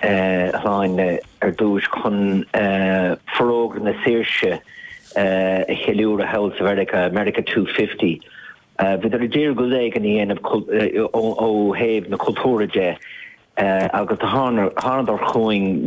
Shláine ar dtús chun Forógra na Saoirse a cheiliúradh thall sa Mheiriceá, America 250. Bhíodar ag iarraidh rud éigin a dhéanamh ó thaobh na cultúra de agus do thánadar chugainn.